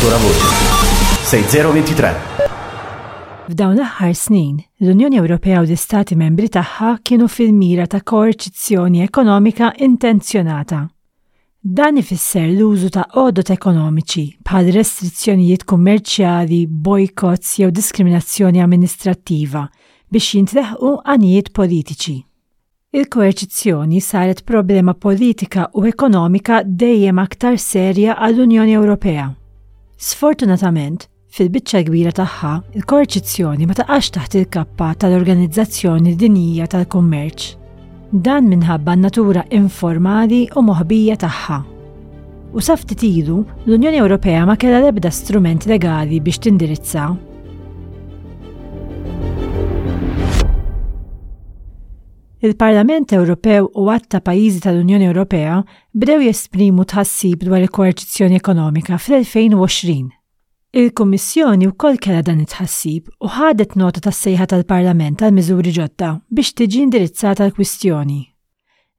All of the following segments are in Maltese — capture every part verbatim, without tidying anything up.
Ancora voce. sei zero ventitré. F'dawn l-aħħar snin, l-Unjoni Ewropea u l-Istati membri tagħha kienu fil-mira ta' koerċizzjoni ekonomika intenzjonata. Dan ifisser l-użu ta' għodot ekonomiċi bħal restrizzjonijiet kummerċjali, boycotts jew diskriminazzjoni amministrattiva biex jintleħqu għanijiet politiċi. Il-koerċizzjoni saret problema politika u ekonomika dejjem aktar serja għall-Unjoni Ewropea. Sfortunatament, fil-biċċa kbira tagħha, il-koerċizzjoni ma taqax taħt il-kappa tal-Organizzazzjoni Dinjija tal-Kummerċ. Dan minħabba n-natura informali u moħbija tagħha. U sa ftit ilu, l-Unjoni Ewropea ma kellha l-ebda strument legali biex tindirizza. Il-Parlament Ewropew u għadd ta' pajjiżi tal-Unjoni Ewropea bdew jesprimu tħassib dwar il-koerċizzjoni ekonomika fl-elfejn u għoxrin. Il-Kummissjoni wkoll kellha dan it-tħassib u ħadet nota tas-sejħa tal-Parlament għal miżuri ġodda biex tiġi indirizzata l-kwistjoni.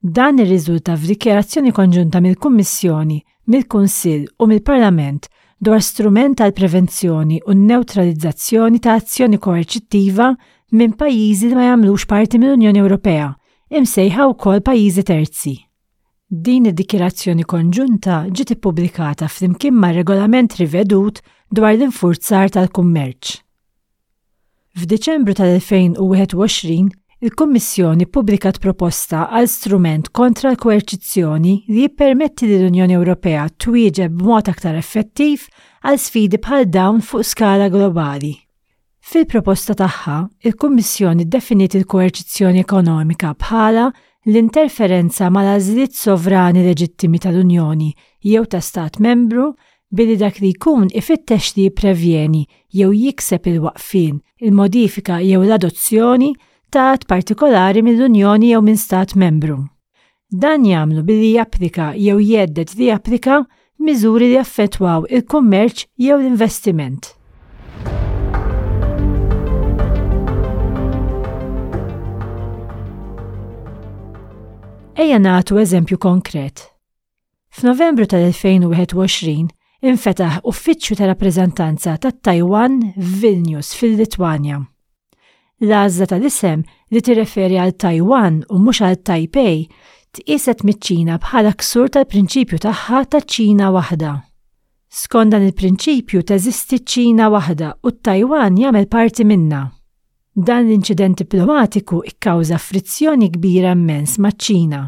Dan irriżulta f'dikjarazzjoni konġunta mill-Kummissjoni, mill-Kunsill u mill-Parlament dwar strument għal prevenzjoni u neutralizzazzjoni ta' azzjoni koerċittiva minn pajjiżi li ma jagħmlux parti mill-Unjoni Ewropea, imsejħa wkoll pajjiżi terzi. Din id-dikjarazzjoni konġunta ġiet ippubblikata flimkien ma' regolament rivedut dwar l-infurzar tal-kummerċ. F'Diċembru tal-elfejn u wieħed u għoxrin, il-Kummissjoni ppubblikat proposta għal strument kontra l-koerċizzjoni li jippermetti lill-Unjoni Ewropea twieġeb b'mod aktar effettiv għal sfidi bħal dawn fuq skala globali. Fil-proposta tagħha, il-Kummissjoni ddefiniet il-koerċizzjoni ekonomika bħala l-interferenza mal-għażliet sovrani leġittimi tal-Unjoni jew ta' Stat membru billi dak li jkun ifittex li jipprevjeni jew jikseb il-waqfien, il-modifika jew l-adozzjoni ta' att partikolari mill-Unjoni jew minn Stat membru. Dan jagħmlu billi japplika jew jhedded li japplika miżuri li jaffettwaw il-kummerċ jew l-investiment. Ejja nagħtu eżempju konkret. F'Novembru tal-elfejn u wieħed u għoxrin infetaħ uffiċċju ta' rappreżentanza tat-Taiwan f'Vilnius fil-Litwanja. L-għażla tal-isem li tirreferi għal Taiwan u mhux għal Taipei tqieset miċ-Ċina bħala ksur tal-prinċipju tagħha ta' Ċina waħda. Skont dan il-prinċipju, teżisti Ċina waħda u t-Taiwan jagħmel parti minna. Dan l-inċident diplomatiku ikkawża frizzjoni kbira immens maċ-Ċina.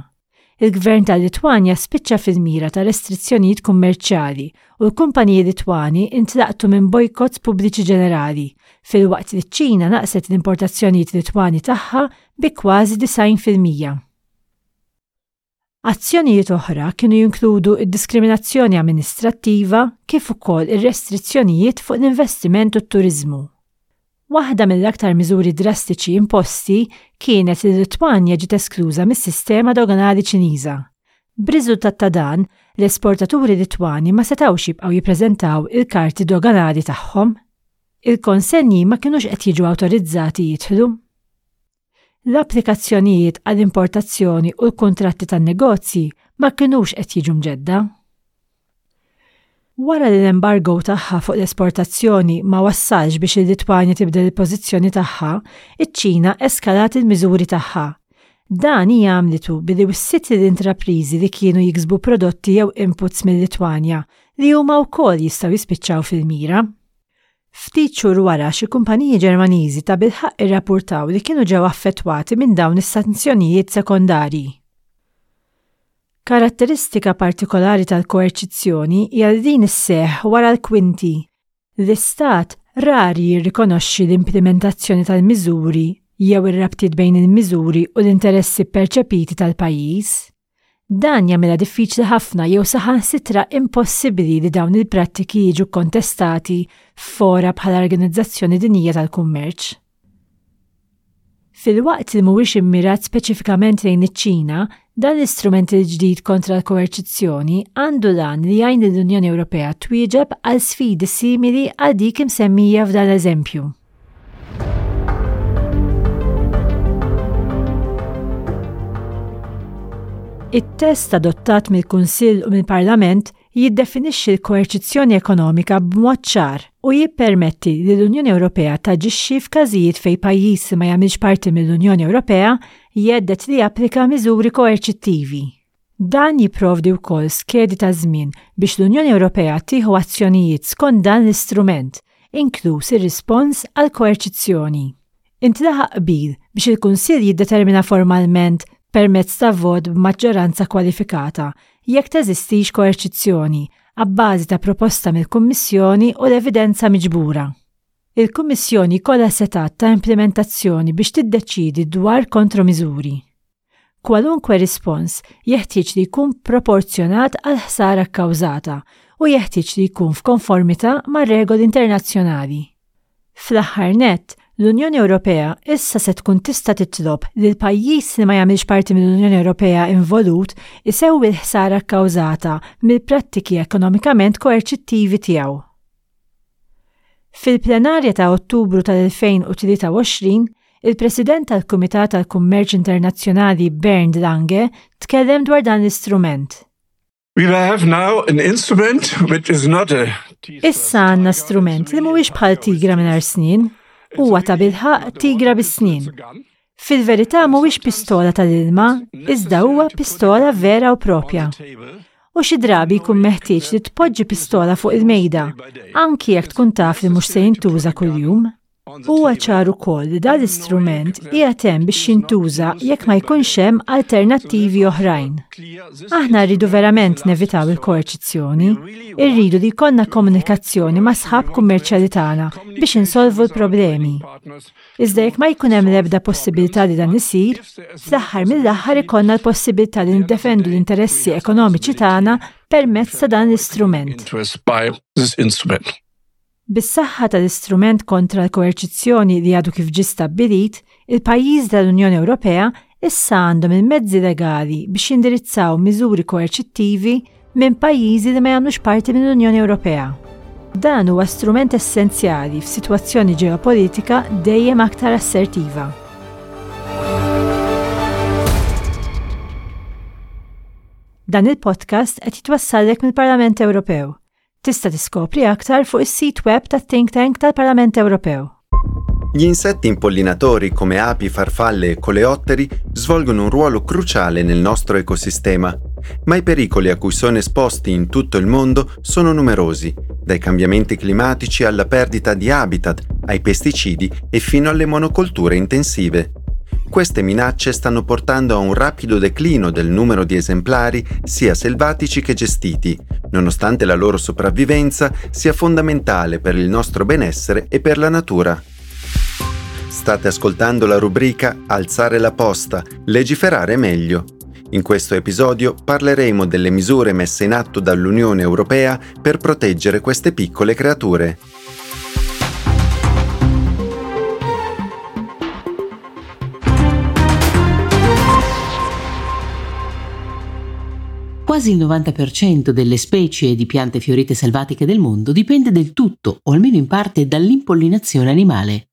Il-gvern tal-Litwanja spiċċa fil-mira ta' restrizzjonijiet kummerċjali u l-kumpaniji Litwani intlaqtu minn bojkotts pubbliċi ġenerali, filwaqt li ċ-Ċina naqset l-importazzjonijiet Litwani tagħha bi kważi disgħin fil-mija. Azzjonijiet oħra kienu jinkludu id-diskriminazzjoni amministrattiva kif ukoll ir-restrizzjonijiet fuq l-investiment u t-turizmu. Waħda mill-aktar miżuri drastiċi imposti kienet li Litwanja ġiet eskluża mis-sistema doganali Ċiniża. B'riżultat ta' dan, l-esportaturi Litwani ma setgħux jibqgħu jippreżentaw il-karti doganali tagħhom. Il-konsenji ma kinux qed jiġu awtorizzati jidħlu. L-applikazzjonijiet għall-importazzjoni u l-kontratti tan-negozji ma kinux qed jiġu mġedda. Wara li l-embargo tagħha fuq l-esportazzjoni ma wassalx biex il-Litwanja tibdel il-pożizzjoni tagħha, iċ-Ċina eskalat il-miżuri tagħha. Dan hija għamlitu billi wissiet l-intrapriżi li kienu jiksbu prodotti jew inputs mill-Litwanja li huma wkoll jistgħu jispiċċaw fil-mira. Ftit xhur wara, xi kumpaniji Ġermaniżi ta' bilħaqq irrapportaw li kienu ġew affettwati minn dawn is-sanzjonijiet sekondarji. Karatteristika partikolari tal-koerċizzjoni hija li din isseħħ wara l-kwinti. L-Istat rari jirrikonoxxi l-implementazzjoni tal-miżuri jew ir-rabtiet bejn il-miżuri u l-interessi perċepiti tal-pajjiż. Dan jagħmilha diffiċli ħafna jew saħansitra impossibbli li dawn il-prattiki jiġu kontestati f'fora bħala Organizzazzjoni Dinjija tal-Kummerċ. Filwaqt li mhuwiex immirat speċifikament lejn iċ-Ċina, dan l-istrument il-ġdid kontra l-koerċizzjoni għandu l-għan li jgħin lill-Unjoni Ewropea twieġeb għal sfidi simili għal dik imsemmija f'dan l-eżempju. It-test adottat mill-Kunsill u mill-Parlament jiddefinixxi l-koerċizzjoni ekonomika b'mod ċar u jippermetti li l-Unjoni Ewropea taġixxi f'każijiet fejn pajjiż li ma jagħmilx parti mill-Unjoni Ewropea jhedded li japplika miżuri koerċittivi. Dan jipprovdi wkoll skedi ta' żmien biex l-Unjoni Ewropea tieħu azzjonijiet skont dan l-istrument, inkluż ir-rispons għal koerċizzjoni. Intlaħaq qbil biex il-Kunsill jiddetermina formalment permezz ta' vot b'maġġoranza kwalifikata jekk teżistix koerċizzjoni abbażi ta' proposta mill-Kummissjoni u l-evidenza miġbura. Il-Kummissjoni jkollha setgħat ta' implementazzjoni biex tiddeċidi dwar kontromiżuri. Kwalunkwe rispons jeħtieġ li jkun proporzjonat għal ħsara kkawżata u jeħtieġ li jkun f'konformità ma' regoli internazzjonali. Fl-aħħar nett, l-Unjoni Ewropea issa se tkun tista' titlob li l-pajjiż li ma jagħmilx parti mill-Unjoni Ewropea involut isewwi l-ħsara kkawżata mill-prattiki ekonomikament koerċittivi tiegħu. Fil-plenarja ta' Ottubru tal-elfejn u tlieta u għoxrin, il-President tal-Kumitat tal-Kummerċ Internazzjonali Bernd Lange tkellem dwar dan l-istrument. We have now an instrument which is not a Issa għandna strument li mhuwiex bħal tigra mingħajr snien, huwa ta' bilħaq tigra bis-snien. Fil-verità mhuwiex pistola tal-ilma, iżda huwa pistola vera u propja. U xi drabi jkun meħtieġ li tpoġġi pistola fuq il-mejda, anki jekk tkun taf li mhux se jintuża kuljum. Huwa ċar ukoll li dan l-istrument qiegħed hemm biex jintuża jekk ma jkunx hemm alternattivi oħrajn. Aħna rridu verament nevitaw il-koerċizzjoni, irridu li jkollna komunikazzjoni ma' sħab kummerċjali tagħna biex insolvu l-problemi. Iżda jekk ma jkun hemm l-ebda possibilità li dan isir, fl-aħħar mill-aħħar ikollna l-possibilità li niddefendu l-interessi ekonomiċi tagħna permezz ta' dan l-istrument. Interest by this instrument. Bis-saħħa tal-istrument kontra l-koerċizzjoni li għadu kif ġie stabbilit, il-pajjiż tal-Unjoni Ewropea issa għandhom il-mezzi legali biex jindirizzaw miżuri koerċittivi minn pajjiżi li ma jagħmlux parti mill-Unjoni Ewropea. Dan huwa strument essenzjali f'sitwazzjoni ġeopolitika dejjem aktar assertiva. Dan il-podcast qed jitwassallek mill-Parlament Ewropew. Tista' tiskopri aktar fuq is-sit web tat-Think Tank tal-Parlament Ewropew. Gli insetti impollinatori come api, farfalle e coleotteri svolgono un ruolo cruciale nel nostro ecosistema, ma i pericoli a cui sono esposti in tutto il mondo sono numerosi, dai cambiamenti climatici alla perdita di habitat, ai pesticidi e fino alle monocolture intensive. Queste minacce stanno portando a un rapido declino del numero di esemplari sia selvatici che gestiti, nonostante la loro sopravvivenza sia fondamentale per il nostro benessere e per la natura. State ascoltando la rubrica Alzare la posta, legiferare meglio. In questo episodio parleremo delle misure messe in atto dall'Unione Europea per proteggere queste piccole creature. Quasi il novanta per cento delle specie di piante fiorite selvatiche del mondo dipende del tutto, o almeno in parte, dall'impollinazione animale.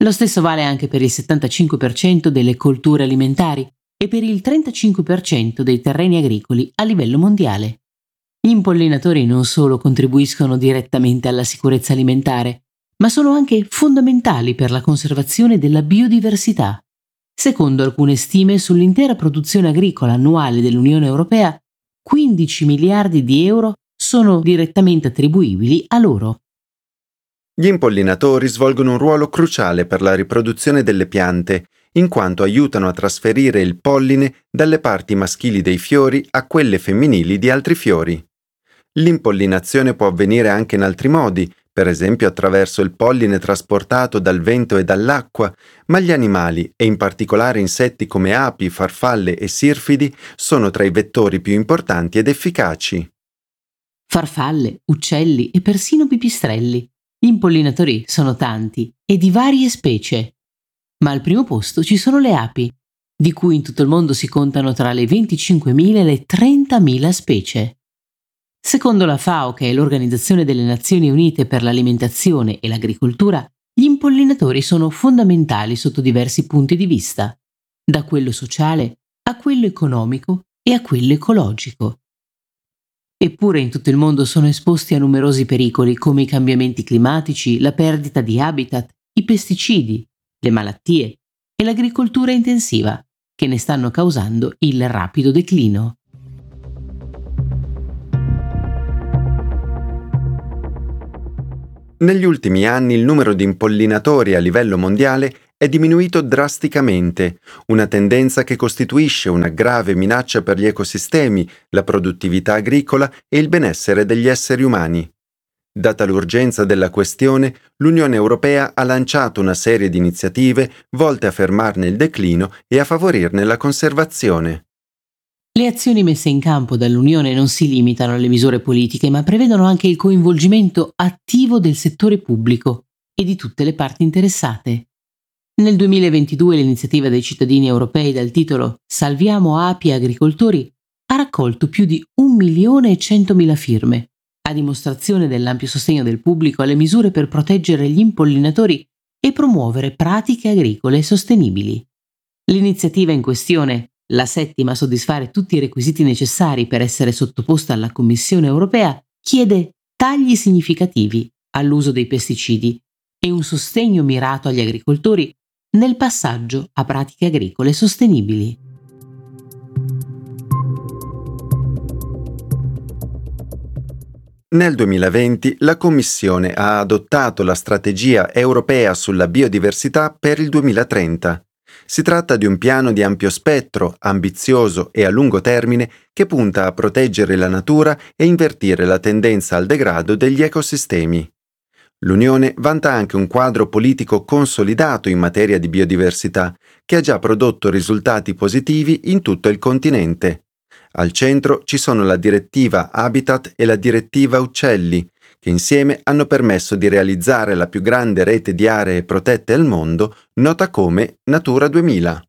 Lo stesso vale anche per il settantacinque per cento delle colture alimentari e per il trentacinque per cento dei terreni agricoli a livello mondiale. Gli impollinatori non solo contribuiscono direttamente alla sicurezza alimentare, ma sono anche fondamentali per la conservazione della biodiversità. Secondo alcune stime sull'intera produzione agricola annuale dell'Unione Europea, quindici miliardi di euro sono direttamente attribuibili a loro. Gli impollinatori svolgono un ruolo cruciale per la riproduzione delle piante, in quanto aiutano a trasferire il polline dalle parti maschili dei fiori a quelle femminili di altri fiori. L'impollinazione può avvenire anche in altri modi, per esempio attraverso il polline trasportato dal vento e dall'acqua, ma gli animali, e in particolare insetti come api, farfalle e sirfidi, sono tra i vettori più importanti ed efficaci. Farfalle, uccelli e persino pipistrelli. Gli impollinatori sono tanti e di varie specie. Ma al primo posto ci sono le api, di cui in tutto il mondo si contano tra le venticinquemila e le trentamila specie. Secondo la FAO, che è l'Organizzazione delle Nazioni Unite per l'Alimentazione e l'Agricoltura, gli impollinatori sono fondamentali sotto diversi punti di vista, da quello sociale a quello economico e a quello ecologico. Eppure in tutto il mondo sono esposti a numerosi pericoli come i cambiamenti climatici, la perdita di habitat, i pesticidi, le malattie e l'agricoltura intensiva, che ne stanno causando il rapido declino. Negli ultimi anni il numero di impollinatori a livello mondiale è diminuito drasticamente, una tendenza che costituisce una grave minaccia per gli ecosistemi, la produttività agricola e il benessere degli esseri umani. Data l'urgenza della questione, l'Unione Europea ha lanciato una serie di iniziative volte a fermarne il declino e a favorirne la conservazione. Le azioni messe in campo dall'Unione non si limitano alle misure politiche, ma prevedono anche il coinvolgimento attivo del settore pubblico e di tutte le parti interessate. Nel duemilaventidue l'iniziativa dei cittadini europei dal titolo Salviamo api e agricoltori ha raccolto più di un milione e centomila firme, a dimostrazione dell'ampio sostegno del pubblico alle misure per proteggere gli impollinatori e promuovere pratiche agricole sostenibili. L'iniziativa in questione, la settima a soddisfare tutti i requisiti necessari per essere sottoposta alla Commissione europea, chiede tagli significativi all'uso dei pesticidi e un sostegno mirato agli agricoltori nel passaggio a pratiche agricole sostenibili. Nel duemilaventi la Commissione ha adottato la Strategia europea sulla biodiversità per il duemilatrenta. Si tratta di un piano di ampio spettro, ambizioso e a lungo termine che punta a proteggere la natura e invertire la tendenza al degrado degli ecosistemi. L'Unione vanta anche un quadro politico consolidato in materia di biodiversità, che ha già prodotto risultati positivi in tutto il continente. Al centro ci sono la direttiva Habitat e la direttiva Uccelli, che insieme hanno permesso di realizzare la più grande rete di aree protette al mondo, nota come Natura duemila.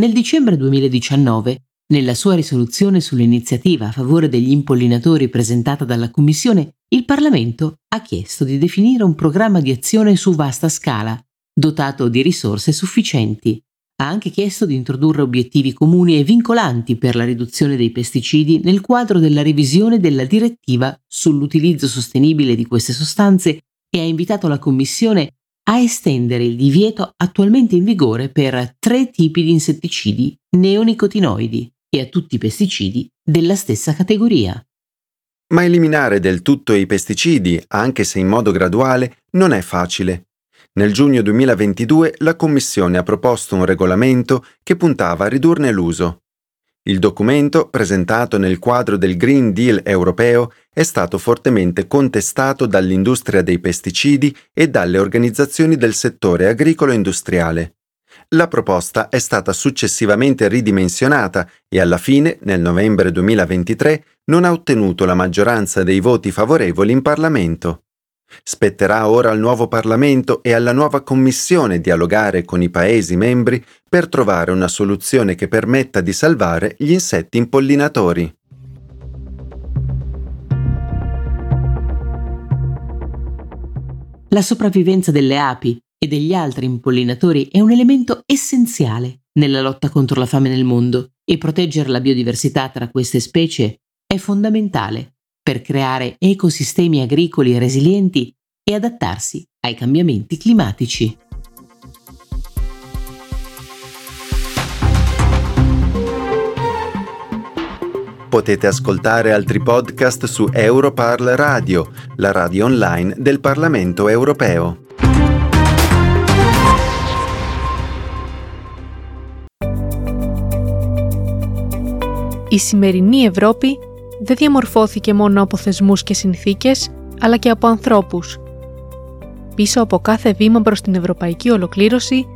Nel dicembre duemiladiciannove, nella sua risoluzione sull'iniziativa a favore degli impollinatori presentata dalla Commissione, il Parlamento ha chiesto di definire un programma di azione su vasta scala, dotato di risorse sufficienti. Ha anche chiesto di introdurre obiettivi comuni e vincolanti per la riduzione dei pesticidi nel quadro della revisione della direttiva sull'utilizzo sostenibile di queste sostanze e ha invitato la Commissione a estendere il divieto attualmente in vigore per tre tipi di insetticidi neonicotinoidi e a tutti i pesticidi della stessa categoria. Ma eliminare del tutto i pesticidi, anche se in modo graduale, non è facile. Nel giugno duemilaventidue la Commissione ha proposto un regolamento che puntava a ridurne l'uso. Il documento, presentato nel quadro del Green Deal europeo, è stato fortemente contestato dall'industria dei pesticidi e dalle organizzazioni del settore agricolo e industriale. La proposta è stata successivamente ridimensionata e alla fine, nel novembre duemilaventitré, non ha ottenuto la maggioranza dei voti favorevoli in Parlamento. Spetterà ora al nuovo Parlamento e alla nuova Commissione dialogare con i Paesi membri per trovare una soluzione che permetta di salvare gli insetti impollinatori. La sopravvivenza delle api e degli altri impollinatori è un elemento essenziale nella lotta contro la fame nel mondo e proteggere la biodiversità tra queste specie è fondamentale per creare ecosistemi agricoli resilienti e adattarsi ai cambiamenti climatici. Potete ascoltare altri podcast su Europarl Radio, la radio online del Parlamento europeo. Η σημερινή Ευρώπη δεν διαμορφώθηκε μόνο από θεσμούς και συνθήκες, αλλά και από ανθρώπους. Πίσω από κάθε βήμα προς την ευρωπαϊκή ολοκλήρωση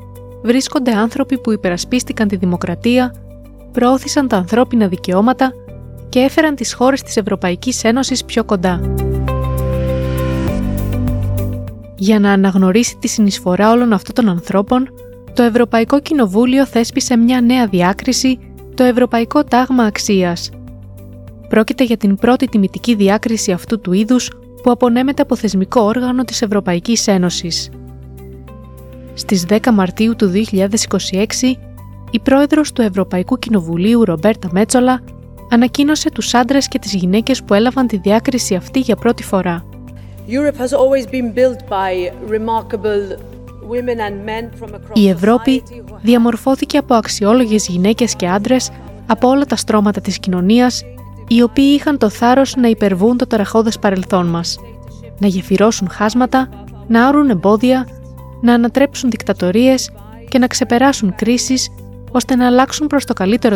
βρίσκονται άνθρωποι που υπερασπίστηκαν τη δημοκρατία, προώθησαν τα ανθρώπινα δικαιώματα και έφεραν τις χώρες της Ευρωπαϊκής Ένωσης πιο κοντά. Για να αναγνωρίσει τη συνεισφορά όλων αυτών των ανθρώπων, το Ευρωπαϊκό Κοινοβούλιο θέσπισε μια νέα διάκριση, το Ευρωπαϊκό Τάγμα Αξίας. Πρόκειται για την πρώτη τιμητική διάκριση αυτού του είδους που απονέμεται από θεσμικό όργανο της Ευρωπαϊκής Ένωσης. Στις δέκα Μαρτίου του δύο χιλιάδες είκοσι έξι, η πρόεδρος του Ευρωπαϊκού Κοινοβουλίου Ρομπέρτα Μέτσολα ανακοίνωσε τους άντρες και τις γυναίκες που έλαβαν τη διάκριση αυτή για πρώτη φορά. Europe has always been built by remarkable Η Ευρώπη διαμορφώθηκε από αξιόλογες γυναίκες και άντρες από όλα τα στρώματα της κοινωνίας, οι οποίοι είχαν το θάρρος να υπερβούν το ταραχώδες παρελθόν μας, να γεφυρώσουν χάσματα, να άρουν εμπόδια, να ανατρέψουν δικτατορίες και να ξεπεράσουν κρίσεις, ώστε να αλλάξουν προς το καλύτερο.